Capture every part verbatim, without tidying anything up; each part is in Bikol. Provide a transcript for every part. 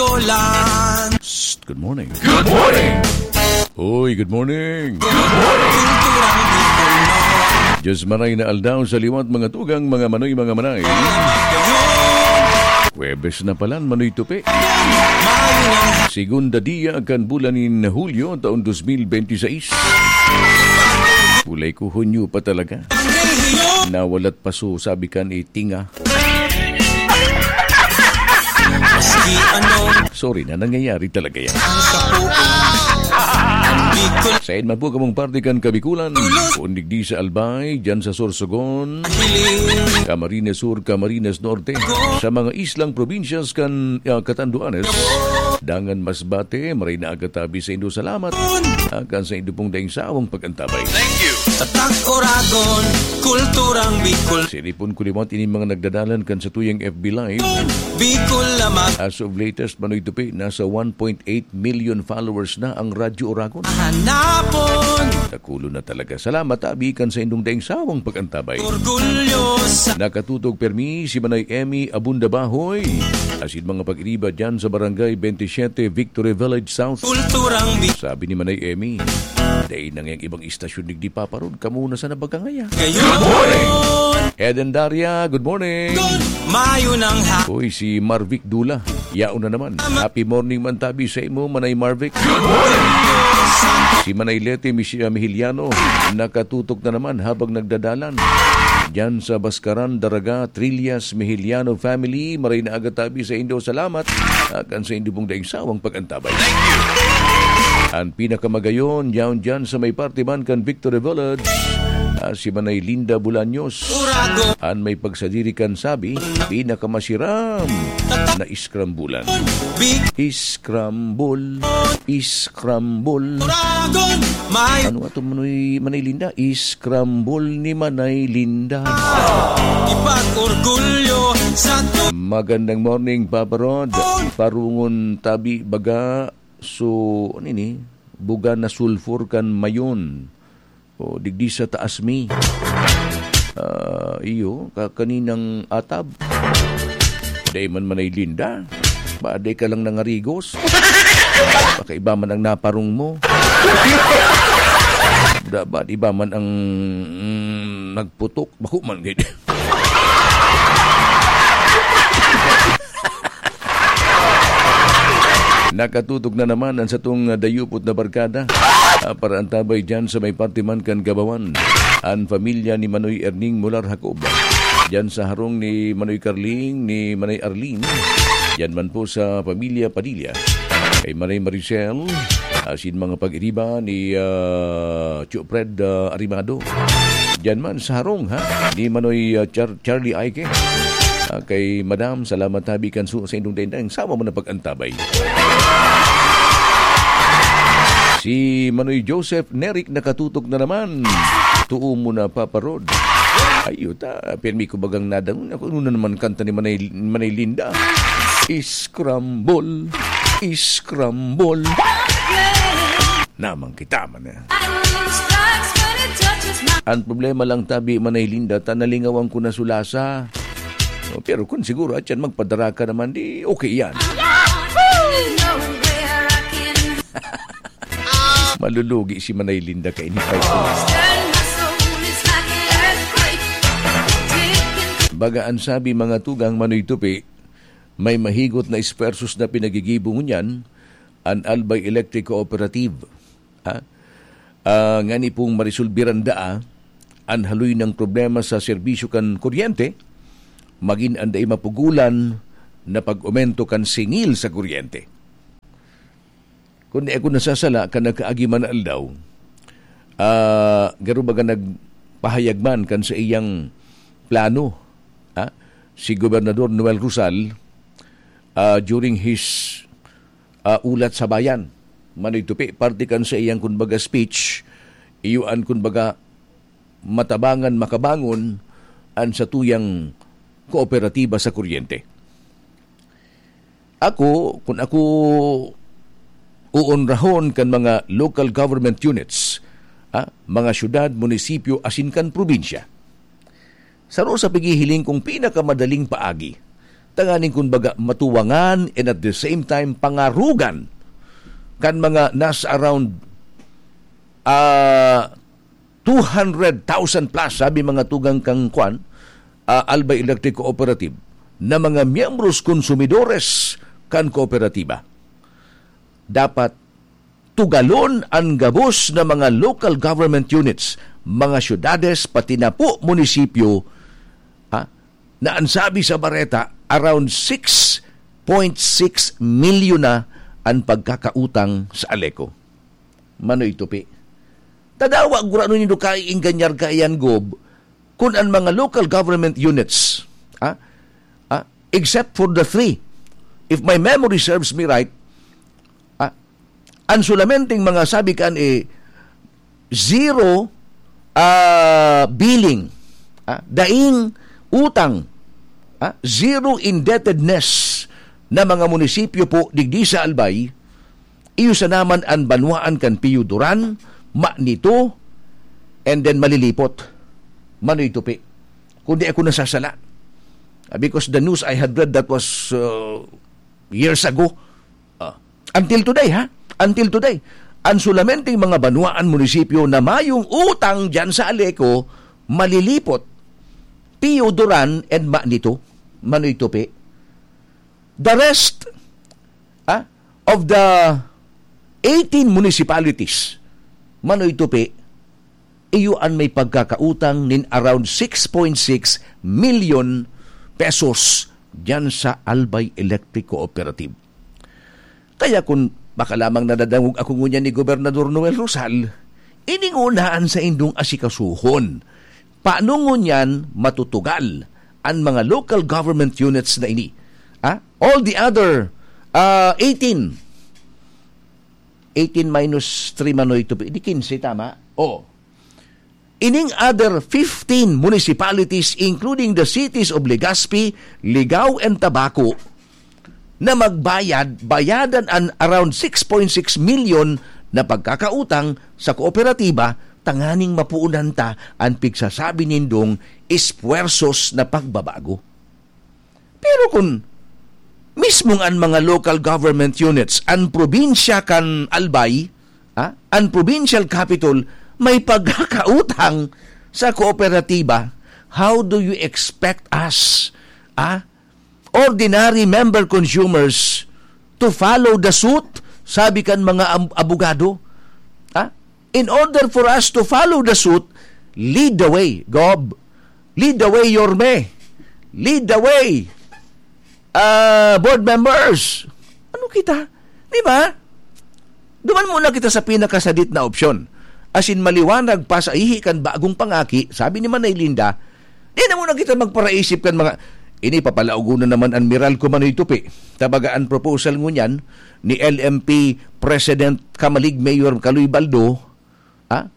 Olan. Psst, good morning. Good morning. Hoy, good morning. Kulturang Bicol, no? Diyos maray na aldaw sa liwat, mga tugang, mga manoy, mga manay. Huwebes na palan, Manoy Tupi. Segunda dia kan bulan nin Hulyo, taon dos mil bente seis. Kulay ko Hunyo pa talaga. Nawalat paso, sabi kan itinga. Maski ano. Sorry na, nangyayari talaga yan. Ang sapuan. Ang Bicol. Sain man po kamong parte kan Kabikulan, kung digdi sa Albay, dyan sa Sorsogon, Camarines Sur, Camarines Norte, sa mga islang probinsyas kan, ah, Catanduanes, dangan Masbate, maray na aga tabi saindo, salamat. Akan saindo pong daing sawang pag-antabay. Thank you. Tatak Oragon, kulturang Bicol. Sinipon ko liwat ini mga nagdadalan kan satuyang F B Live. Bicol lamat. As of latest, Manoy Tupi, nasa one point eight million followers na ang Radyo Oragon. Hanapon. Dakulo na talaga. Salamat, abi, kan saindong daing sawang pag-antabay. Orgulyo sa Nakatutok permi si Manay Emmy Abunda Bahoy, asin mga pag-iriba dyan sa Barangay twenty-seven, Victory Village South. Kulturang Bi- Sabi ni Manay Emmy, "Dai na ngayang ibang istasyon digdi, Papa Rod, kamo na sana baga ngaya." Ngayon. Eden Daria, good morning. Good. Mayo nang ha- Uy, si Marvic Dula, yaon na naman. Happy morning man tabi sa imo, Manay Marvic. Si Manay Leti Mich-, ah, Mihiliano, nakatutok na naman habang nagdadalan. Diyan sa Bascaran, Daraga, Trillas, Mihiliano family, maray na aga tabi sa indo. Salamat. Akan sa indo pong daing sawang pag-antabay. An pinakamagayon, yaon diyan sa may parte man kan Victory Village. Ah, si Manay Linda Bolaños. An may pagsadiri kan sabi, pinakamasiram na iskrambulan. Scramble, scramble. Ano ato, Manoy, Manay Linda? Scramble ni Manay Linda. Ipag-orgulyo sa tu- Magandang morning, Papa Rod. Parungon tabi baga, so, ano ini? Buga na sulfur kan mayon. O, digdi sa taas mi. Ah, iyo, ka-, kaninang atab. Dai man Manay Linda. Ba, dai ka lang nangarigos. Baka iba man ang naparong mo. Da, ba, iba man ang, mm, nagputok. Bako man, gid. Nakatutok na naman ang satong, ah, dayupot na barkada. Ah, para antabay dyan sa may parte man kan Gabawan. An pamilya ni Manoy Erning Mular Jacob. Dyan sa harong ni Manoy Carling, ni Manay Arling. Dyan man po sa pamilya Padilla. Kay Manay Maricel, asin mga pag-iriba ni, ah, Tio Fred, ah, Arimado. Dyan man sa harong, ha? Ni Manoy, ah, Char-, Charlie Aike. Ah, kay Madam, salamat tabi kan su-, sa indong dendang. Sama mo na pag-antabay. Si Manoy Joseph Nerik nakatutok na naman. Tuo mo na, Papa Rod. Ay, yuta. Pirmi ko bagang nadangon. Ako, ano na naman kanta ni Manay, Manay Linda? Scramble. Scramble. Namang kita man eh. Ang problema lang tabi, Manay Linda, ta nalingawan ko na sulasa. O, pero kung siguro, atyan, magpadara ka naman, di okay yan. Malulugi si Manay Linda kaini pa ito. Baga an sabi, mga tugang, Manoy Tupi, may mahigot na esfuerzos na pinagigibo ngunyan an Albay Electric Cooperative, ha? Ah, ngani pong marisolbiran daa an haloy nang problema sa serbisyo kan kuryente, magin an dai mapugolan na pag-omento kan singil sa kuryente. Kun di ako nasasala, kan nakaagi man na aldaw, ah, garo baga nagpahayag man kan sa iyang plano, ha? Si Gobernador Noel Rosal, ah, during his, ah, ulat sa bayan, Manoy Tupi, parte kan sa iyang, kun baga, speech, iyo an, kun baga, matabangan makabangon an satuyang kooperatiba sa kuryente. Ako, kun ako uonrahon kan mga local government units, ha, mga syudad, munisipyo, asin kan probinsya, saro sa pighihiling kong pinakamadaling paagi tanganing, kumbaga, matuwangan and at the same time pangarugan kan mga nasa around, ah, two hundred thousand plus, sabi mga tugang kan kwan, ah, Albay Electric Cooperative, na mga miyembros, konsumidores kan kooperatiba. Dapat tugalon an gabos na mga local government units, mga syudades, pati na po munisipyo, ha, na an sabi sa bareta, around six point six milyon na an pagkakautang sa Aleco. Manoy Tupi. Tadawa, gurano nindo kaiingganyar kaiyan, Gob, kun an mga local government units, ah, ah, except for the three, if my memory serves me right, ah, an solamenteng mga sabi kan, eh, zero, ah, billing, ah, daing utang, ah, zero indebtedness na mga munisipyo po digdi sa Albay, iyo sana man an banwaan kan Pio Duran, Manito, and then Malilipot. Manoy Tupi. Kung di ako nasasala. Ah, because the news I had read that was, uh, years ago. Ah, until today, ha? Until today. Ang solamenteng mga banwaan, munisipyo na mayong utang diyan sa Aleco, Malilipot, Pio Duran, and Manito. Manoy Tupi. The rest, ah, of the eighteen municipalities, Manoy Tupi, iyo an may pagkakautang nin around six point six milyon pesos diyan sa Albay Electric Cooperative. Kaya kun baka lamang nadadangog ako ngunyan ni Gobernador Noel Rosal, ini nguna an saindong asikasuhon. Paano ngunyan matutugal an mga local government units na ini? Ah, all the other, ah, eighteen. Eighteen minus three, Manoy Tupi, di quince, tama? Oh. Ining other fifteen municipalities, including the cities of Legazpi, Ligao, and Tabaco, na magbayad, bayadan an around six point six milyon na pagkakautang sa kooperatiba, tanganing mapuunan ta an pigsasabi nindong espuwersos na pagbabago. Pero kun mismong an mga local government units, an probinsya kan Albay, ah, an provincial capital, may pagkakautang sa kooperatiba, how do you expect us, ah, ordinary member consumers to follow the suit, sabi kan mga am-, abogado. Ha? In order for us to follow the suit, lead the way, Gob. Lead the way, Yorme. Lead the way, ah, board members. Ano kita? Di ba? Duman muna kita sa pinakasadit na opsyon. Asin maliwanag pa sa ihi kan bagong pangaki, sabi ni Manay Linda, di na muna kita magparaisip kan mga, ini papalaogon na naman an Meralco, Manoy Tupi. Tabaga an proposal ngunyan ni L M P President Kamalig Mayor Kaloy Baldo, ha?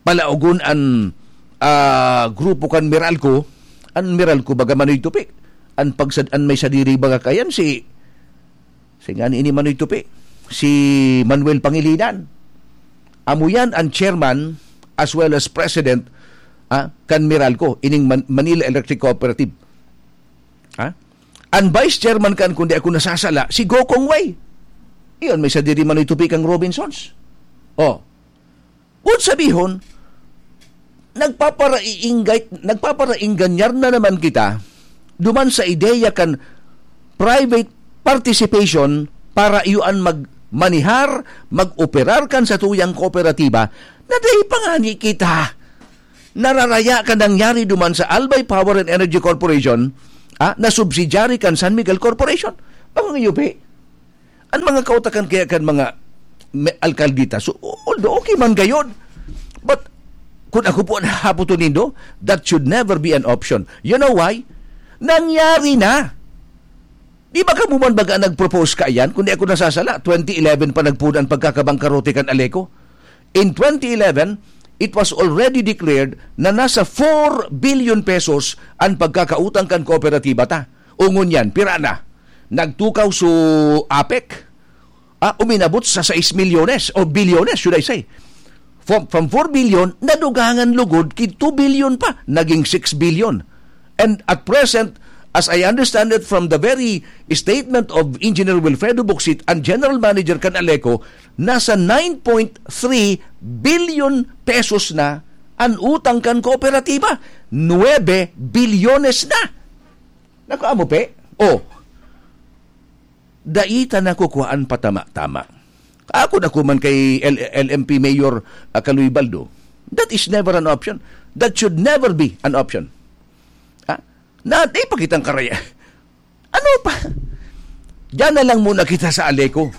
Palaogon an, ah, grupo kan Meralco, an Meralco baga, Manoy Tupi. An pagsad-, an may sadiri baga kayan si, si ngani ini, Manoy Tupi, si Manuel Pangilinan. Amo yan an chairman as well as president, ah, kan Meralco, ining Man-, Manila Electric Cooperative. Ha? An vice chairman kan, kung di ako nasasala, si Gokong Wei. Iyon, may sadiri, Manoy Tupi, kang Robinsons. Oh. Kun sabihon, nagpaparainggay-, nagpaparaingganyar na naman kita duman sa ideya kan private participation para iyo an magmanihar, mag-operar kan satuyang kooperatiba na dai pa ngani kita nararaya kan nangyari duman sa Albay Power and Energy Corporation, ah, na subsidiary kan San Miguel Corporation. Mga yupi. An mga kautakan kaya kan mga me-, alkaldita, so, although okay man gayod, but kung ako po ang hahapoton nindo, that should never be an option. You know why? Nangyari na. Di ba kamo man baga nag-propose kaiyan? Kung di ako nasasala, twenty eleven pa nagpuna an pagkakabangkarote kan Aleco. In twenty eleven, it was already declared na nasa four billion pesos an pagkakautang kan kooperatiba ta. O ngunyan, pira na? Nagtukaw so APEC, ah, uminabot sa sais milyones o bilyones, should I say. From, from four billion, nadugangan lugod ki two billion pa, naging six billion. And at present, As I understand it from the very statement of Engineer Wilfredo Bucsit, ang general manager kan Aleco, nasa nine point three billion pesos na an utang kan kooperatiba. Nuebe bilyones na. Naku, amo pe. Oh. Dai ta nakukuhaan patama-tama. Ako na kuman kay L-, L M P Mayor, ah, Kaloy Baldo. That is never an option. That should never be an option. Ha? Na, di pa kitang karaya. Ano pa? Diyan na lang muna kita sa Aleco.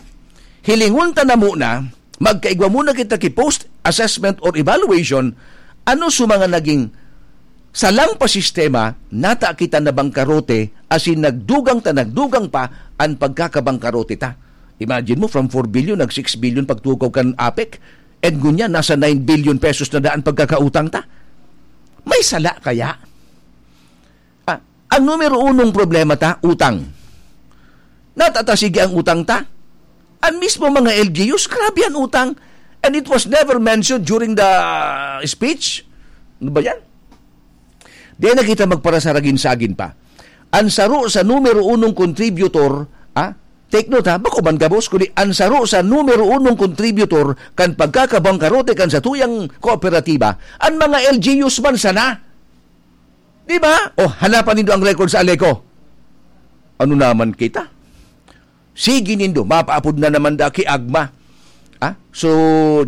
Hilingon ta na muna, magkaigwa muna kita ki post-assessment or evaluation, ano sa mga naging salang pa sistema, nata kita na bangkarote, asin nagdugang ta, nagdugang pa an pagkakabangkarote ta. Imagine mo, from four billion, nag six billion pagtukaw kan APEC, and ngunyan, nasa nine billion pesos na daan pagkakautang ta. May sala kaya? Ah, ang numero unong problema ta, utang. Natata sige ang utang ta. Ang mismo mga L G Us, grabe ang utang. And it was never mentioned during the speech. Ano ba yan? Di na kita magparasaragin-sagin pa. Ang saro sa numero unong contributor, ah, take note ha, bako man gabos, kundi ang saro sa numero unong contributor kan pagkakabangkarote kan satuyang kooperatiba, ang mga L G Us man sana. Di ba? O, hanapan nindo ang record sa Aleco. Ano naman kita? Sige nindo, mapaapod na naman da ki AGMA. Ah? So,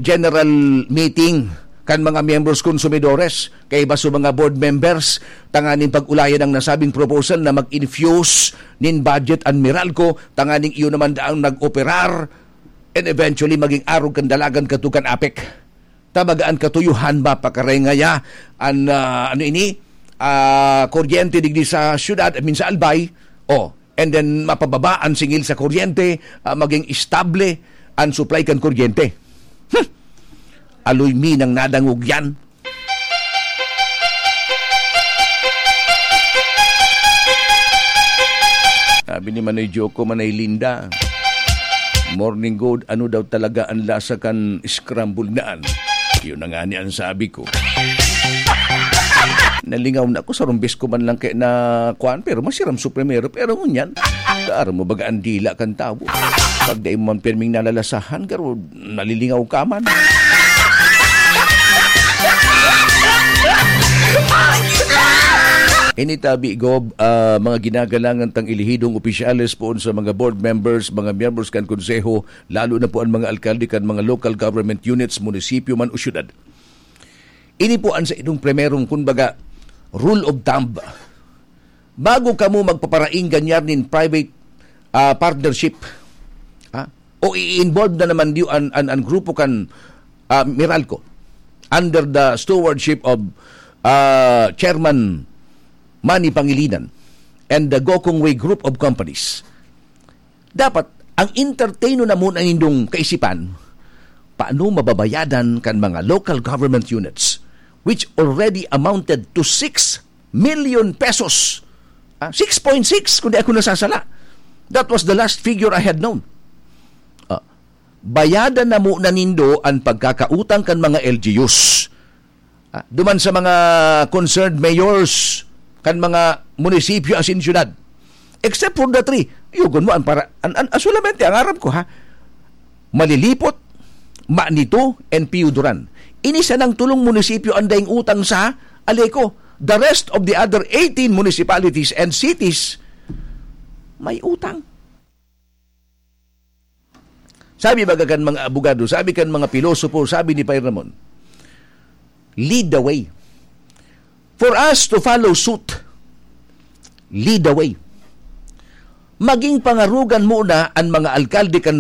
general meeting kan mga miyembros konsumidores, kaiba sa mga board members, tanganing pag-ulayan ang nasabing proposal na mag-infuse nin budget an Meralco, tanganing iyo naman daang nag-operar, and eventually maging arog kan dalagan kato kan APEC. Ta baga an katuyohan ba, pakarengaya an, ah, ano ini, ah, kuryente digdi sa syudad, I mean, sa Albay, oh, and then mapababa an singil sa kuryente, ah, maging estable an supply kan kuryente. Hmm. Aloy mi nang nadangog yan. Sabi ni Manay Joko, Manay Linda, "Morning good, ano daw talaga ang lasa kan scrambled na an?" Yun na nga ni ang sabi ko. Nalingaw na ako, sa rumbis ko man lang kay na kuan, pero masiram sa primero, pero ngunyan, kaaro mo baga ang dila kan tawo? Pag dai mo man pirming nalalasahan, garo, nalilingaw ka man. Ini tabi, Gob, ah, mga ginagalangan tang elehidong opisyales poon sa mga board members, mga miyembros kan konseho, lalo na po ang mga alkalde kan mga local government units, munisipyo man o syudad. Ini po ang sa inyong primerong, kumbaga, rule of thumb. Bago kamo magpaparaing ganyan nin private, ah, partnership, ha? O i-involve na naman diyo an, an, an grupo kan, ah, Meralco under the stewardship of, ah, Chairman Manny Pangilinan and the Gokongwei Group of Companies. Dapat, ang entertain na muna nindong kaisipan, paano mababayadan kan mga local government units, which already amounted to six million pesos? Ah, six point six, kung di ako nasasala. That was the last figure I had known. Ah, bayadan na muna nindo ang pagkakautang kan mga L G Us. Ah, duman sa mga concerned mayors kan mga munisipyo asin syudad. Except for the three, yugon mo ang para, an, an, ah, solamente ang aram ko, ha, Malilipot, Manito, and Pio Duran. Ini sanang tulong munisipyo ang daing utang sa Aleco. The rest of the other eighteen municipalities and cities may utang. Sabi baga kan mga abogado, sabi kan mga pilosopo, sabi ni Pay Ramon, "Lead the way. For us to follow suit, lead the way." Maging pangarogan muna an mga alkalde kan